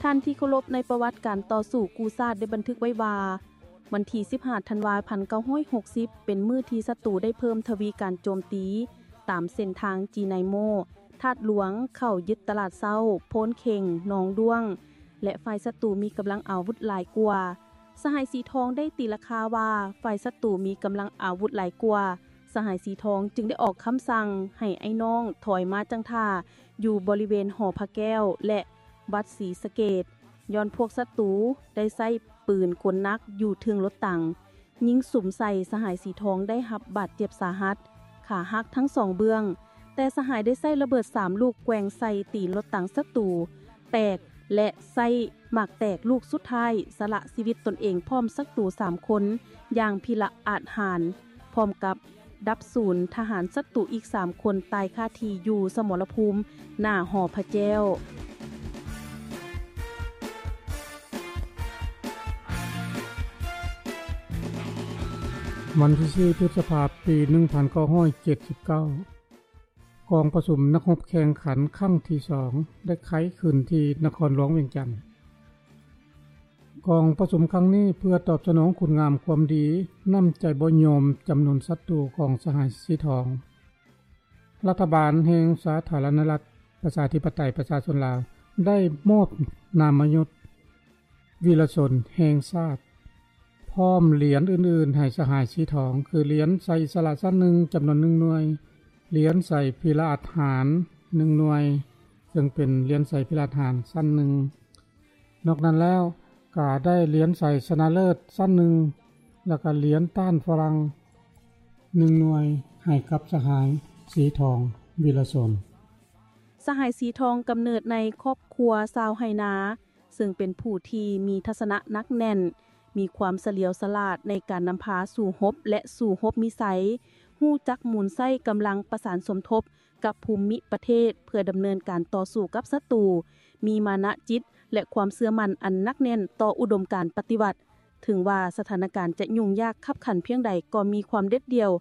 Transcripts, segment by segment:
ທ່ານທີ່ເຄົາລົບ, ໃນປະຫວັດການຕໍ່ສູ້ກູ້ຊາດໄດ້ບັນທຶກໄວ້ວ່າ ວັນທີສິບຫ້າ ທັນວາ ພັນເກົ້າຮ້ອຍຫົກສິບ ເປັນມື້ທີ່ສັດຕູໄດ້ເພີ່ມທະວີການໂຈມຕີ ຕາມເສັ້ນທາງຈີໄນໂມ, ທາດຫຼວງ, ເຂົ້າຍຶດຕະຫຼາດເຊົ້າ, ໂພນເຂັງ, ໜອງດ້ວງ ແລະ ຝ່າຍສັດຕູມີກຳລັງອາວຸດຫຼາຍກວ່າ. ສະຫາຍສີທອງໄດ້ຕີລາຄາວ່າ ຝ່າຍສັດຕູມີກຳລັງອາວຸດຫຼາຍກວ່າ, ສະຫາຍສີທອງຈຶ່ງໄດ້ອອກຄຳສັ່ງໃຫ້ອ້າຍນ້ອງຖອຍມາຈັ່ງທ່າຢູ່ບໍລິເວນຫໍພະແກ້ວ ແລະ ວັດສີສະເກດ, ຍ້ອນພວກສັດຕູໄດ້ໃຊ້ປືນກົນໜັກຢູ່ເທິງລົດຖັງ ຍິງສຸມໃສ່, ສະຫາຍສີທອງໄດ້ຮັບບາດເຈັບສາຫັດ, ຂາຫັກທັງສອງເບື້ອງ, ແຕ່ສະຫາຍໄດ້ໃຊ້ລະເບີດສາມລູກແກວ່ງໃສ່ຕີນລົດຖັງສັດຕູແຕກ ແລະ ໃຊ້ໝາກແຕກລູກສຸດທ້າຍ ສະລະຊີວິດຕົນເອງພ້ອມສັດຕູສາມຄົນຢ່າງພິລະອາດຫານ, ພ້ອມກັບດັບສູນທະຫານສັດຕູອີກສາມຄົນຕາຍຄາທີ່ຢູ່ສະໝໍລະພູມໜ້າຫໍພະແກ້ວ. ວັນທີສີ່ ພຶດສະພາ ປີໜຶ່ງພັນເກົ້າຮ້ອຍເຈັດສິບເກົ້າ ກອງປະຊຸມນັກຮົບແຂ່ງຂັນຄັ້ງທີສອງ ໄດ້ໄຂຂຶ້ນທີ່ນະຄອນຫຼວງວຽງຈັນ. ກອງປະຊຸມຄັ້ງນີ້ເພື່ອຕອບສະໜອງຄຸນງາມຄວາມດີ, ນ້ຳໃຈບໍ່ຍອມຈຳນົນສັດຕູຂອງສະຫາຍສີທອງ. ລັດຖະບານແຫ່ງສາທາລະນະລັດ ປະຊາທິປະໄຕ ປະຊາຊົນລາວ ໄດ້ມອບນາມມະຍົດ ວີລະຊົນແຫ່ງຊາດ ພ້ອມຫຼຽນອື່ນໆໃຫ້ສະຫາຍສີທອງ ຄືຫຼຽນໄຊອິດສະຫຼະຊັ້ນໜຶ່ງ ຈຳນວນໜຶ່ງໜ່ວຍ, ຫຼຽນໄຊພິລະອາດຫານໜຶ່ງໜ່ວຍ, ເຊິ່ງເປັນຫຼຽນໄຊພິລະອາດຫານຊັ້ນໜຶ່ງ. ນອກນັ້ນແລ້ວ ກະໄດ້ຫຼຽນໄຊຊະນະເລີດຊັ້ນໜຶ່ງ ແລ້ວກະຫຼຽນຕ້ານຝຣັ່ງໜຶ່ງໜ່ວຍ ໃຫ້ກັບສະຫາຍສີທອງ ວີລະຊົນ. ສະຫາຍສີທອງກຳເນີດໃນຄອບຄົວຊາວໄຮ່ນາ, ເຊິ່ງເປັນຜູ້ທີ່ມີທັດສະນະໜັກແໜ້ນ, ມີຄວາມສະຫຼຽວສະຫຼາດໃນການນຳພາສູ້ຮົບ ແລະ ສູ້ຮົບມີໄຊ, ຮູ້ຈັກໝູນໃຊ້ກຳລັງປະສານສົມທົບກັບພູມິປະເທດ ເພື່ອດຳເນີນການຕໍ່ສູ້ກັບສັດຕູ, ມີມານະຈິດ ແລະ ຄວາມເຊື່ອໝັ້ນອັນໜັກແໜ້ນຕໍ່ອຸດົມການປະຕິວັດ. ເຖິງວ່າສະຖານະການຈະຫຍຸ້ງຍາກຄັບຂັນພຽງໃດ ກໍມີຄວາມເດັດດ່ຽວ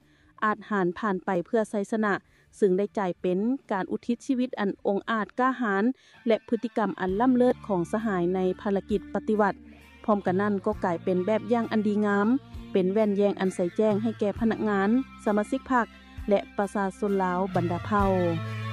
ອາດຫານຜ່ານໄປເພື່ອໄຊຊະນະ, ເຊິ່ງໄດ້ກາຍເປັນການອຸທິດຊີວິດອັນອົງອາດກ້າຫານ ແລະ ພຶດຕິກຳອັນລ້ຳເລີດຂອງສະຫາຍໃນພາລະກິດປະຕິວັດ. ພ້ອມກັນນັ້ນກໍກາຍເປັນແບບຢ່າງອັນດີງາມ, ເປັນແວ່ນແຍງອັນໃສແຈ້ງໃຫ້ແກ່ພະນັກງານ, ສະມາຊິກພັກ ແລະ ປະຊາຊົນລາວບັນດາເຜົ່າ.